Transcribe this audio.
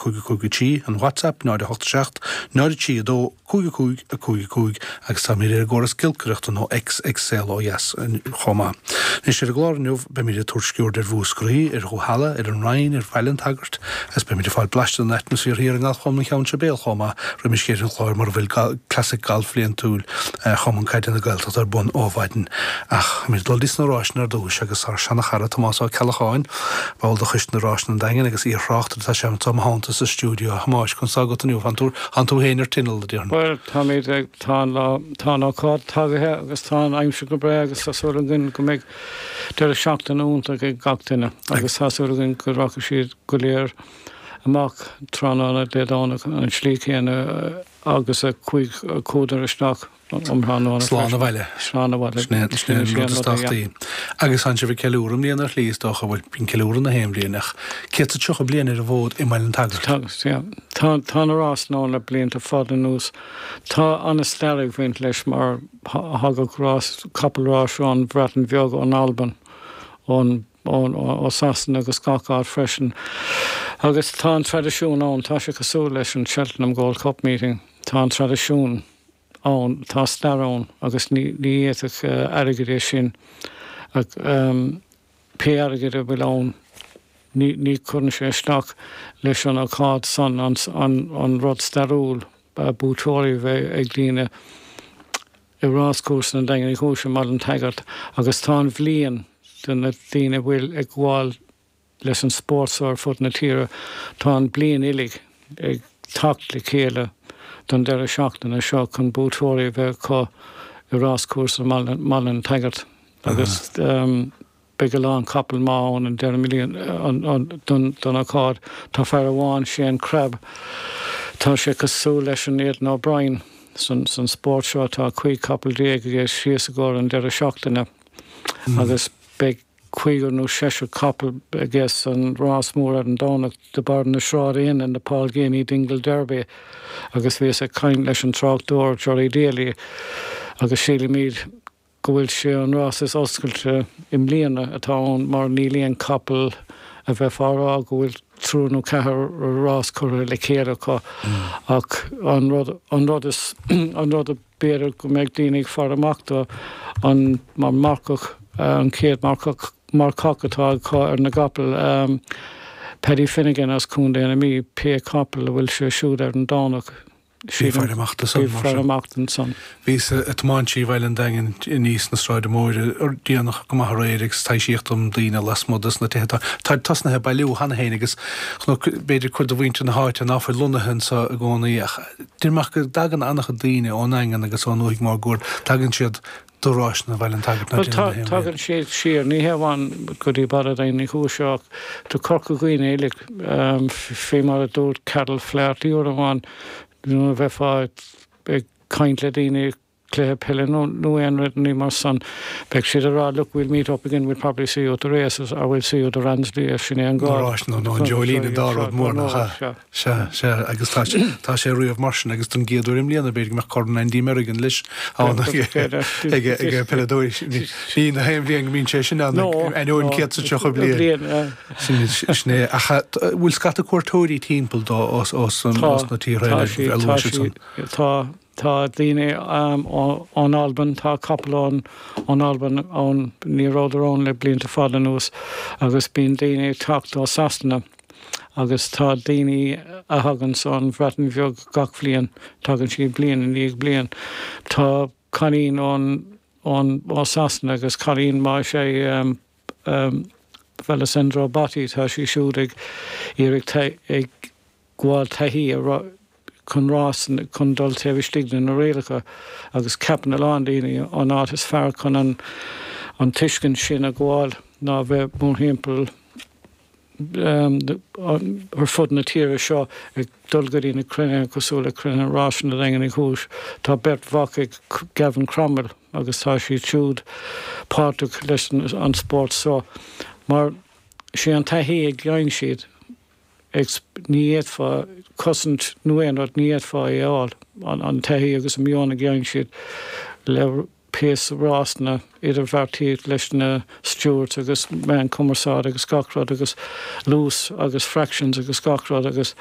5 5 3, an WhatsApp, 0 8 7 0 3 2 5 5 5 5 agus táimid ar an gcóras giolcaireachta nó X ag Saol Ó Dheas chomh maith. Anois ar an gclár inniu beimid ag tabhairt sciuird ar Mhúscraí, ar Dhúhalla, ar an Rinn, ar Bhaile an tSagairt agus beimid ag fáil blaiseadh den atmaisféar thiar i nGalfchumann Cheann Sibéal chomh maith roimis dheireadh an chláir mar a bhfuil Classic Galf bhliantúil Chumann Caide na Gaeltachta ar bun ó mhaidin. Ach táimid ag dul dtí sna Ráiseanna ar dtúis agus ár seana-chara Tomás Ó Ceallacháin, ball de Choiste na Ráiseanna an Daingin agus iar-thráchtaire atá sé anseo i mo theannta sa stiúideo. A Thomáis, conas tá agat inniu? Tánn tú, tánn tú féin ar tinneall, a déarfainn. Bhuel, táimid ag, tá an lá, tá an ócáid tagaithe agus tá an aimsir go breá agus tá súil againn go mbeidh deireadh seachtaine iontach ag gach duine agus tá súil againn go rachaidh siad go léir amach tráthnóna Dé Domhnaigh an tslí chéanna agus a chuadar isteach um thráthnóna freisin. Slán abhaile. Slán abhaile. Sin é an rud is tábhachtaí. Agus tánn sibh ag ceiliúradh i mbliana ar shlí, is dócha, bhuel, bíonn ceiliúradh na haon bhliain, ach 130 bliain ar an bhfód i mBaile an tSagairt. Tá, yeah. Tá, tá na rásanna ann le blianta fada anuas. Tá an-stair ag bhaint leis mar thagadh rás, capall ráis ón Bhreatain Bheag, ón Albain, ón ó Sasana agus gach áit freisin. Agus tá an traidisiún ann, tá sé cosúil leis an Cheltenham Gold Cup Meeting, tá an traidisiún ann, tá stair ann agus ní ní fhéadfadh airgead é sin a pé airgead a bhfuil ann ní ní chuireann sé isteach leis an ócáid san an an rud stairiúil buaiteoirí a bheith ag daoine i ráschúrsa an Daingin Uí Chúis i mBaile an tSagairt agus tá an bhliain do na daoine a bhfuil ag gabháil leis an spórt so ar fud na tíre, tá an bliain uilig ag teacht le chéile don deireadh seachtaine seo chun buaiteoirí a bheith acu i ráschúrsa mBaile an tSagairt agus Beidh a lán capall maith ann an deireadh don ócáid. Tá fear amháin, Shane Crabbe, tá sé cosúil leis an Aidan O'Brien san spórt seo. Tá 15 capall aige síos i gcomhair an deireadh seachtaine agus beidh cúigear nó seisear capall aige san rás mór ar an Domhnach de bharr na Sráid Inn, the Paul Geaney Dingle Derby agus bhíos ag caint leis an tráchtaire Gerry Daly agus sílimid go bhfuil sé an rás is oscailte i mbliana atá ann mar níl aon capall a bheifeá a rá go bhfuil triúr nó ceathrar rás curtha le chéile acu ach an rud an rud is an rud a b'fhéidir go mbeidh daoine ag faire amach dó an mar marcach an chéad marcach marcach atá acu ar na gcapall Paddy Finnegan as Contae na Mí pé capall a bhfuil sé siúd ar an Domhnach. Bí ag faire amach do san, mar sin. Bí ag faire amach don san. Bhíos ag tiomáint trí Bhaile an Daingin aníos na Sráide Móire déanach go maith aréir agus taibhsíodh dom daoine lasmuigh dos na tithe. Táid tosnaithe ag bailiú cheana féin agus chonac b'fhéidir cuid de mhuintir na háite ná fuil lonnaithe anso i gcónaí ach deir mé go dtagann an-chuid daoine ón nDaingean agus ón ndúthaigh máguaird, tagann siad do ráiseanna Bhaile an tSagairt ná déanann na haon bhliain. Tagann siad siar, ní hé amháin go dtí Baile Daingin Uí Chúis ach do Corca Dhuibhne uilig, fé mar a dúirt Carol Flaherty uair amháin, nuair a bheifeá ag caint le daoine cluiche peile nó aon rud ní mar san, beidh siad ag rá look we'll meet up again, we'll probably see you at the races or we'll see you at the Ransley, sin é an gá. Na ráiseanna nó an Dreoilín an dá rud mór nach ea? Sea, sea, agus tá sé, tá sé riamh mar sin agus don gcéad uair i mbliana b'fhéidir go mbeadh Corn Andy Merrigan leis ann ag ag peileadóirí. Ní na haon bhliain go mbíonn sé sin ann ainneoin 130 bliain. Sin sin é. Ach bhfuil scata cuairteoirí timpeall dó os os os na tíortha eile a luaigh siad san? Tá, tá daoine ón Albain, tá capall ón ón Albain ann, ní rabhadar ann le blianta fada anuas agus bíonn daoine ag teacht ó Sasana. agus tá daoine a thaganns ón Bhreatain Bheag gach bhliain, tagann siad bliain i ndiaidh bliain. Tá cailín ón, ón, ó Sasana agus cailín maith is ea í Alessandro Botti, tá sí siúd ag iarraidh ag gabháil taithí a chun rás, chun dul taobh istigh de na rialacha agus ceapann a lán daoine an áit is fearr chun an, an tuiscint sin a ghabháil ná bheith mórthimpeall ar fud na tíre seo ag dul go dtí na cruinnithe cosúil le cruinnithe Ráiseanna Daingean Uí Chúis. Tá beirt mhac ag Gavin Cromwell agus tá siad siúd páirteach leis an spórt seo mar sé an taithí a gheibheann siad ní fhéadfá cosaint nó aon rud ní fhéadfá é a fháil, an taithí agus an meon a gheibheann siad le pé rásanna, idirbheartaíocht leis na stewards agus meán cumarsáid agus gach rud agus luas agus fractions agus gach rud agus.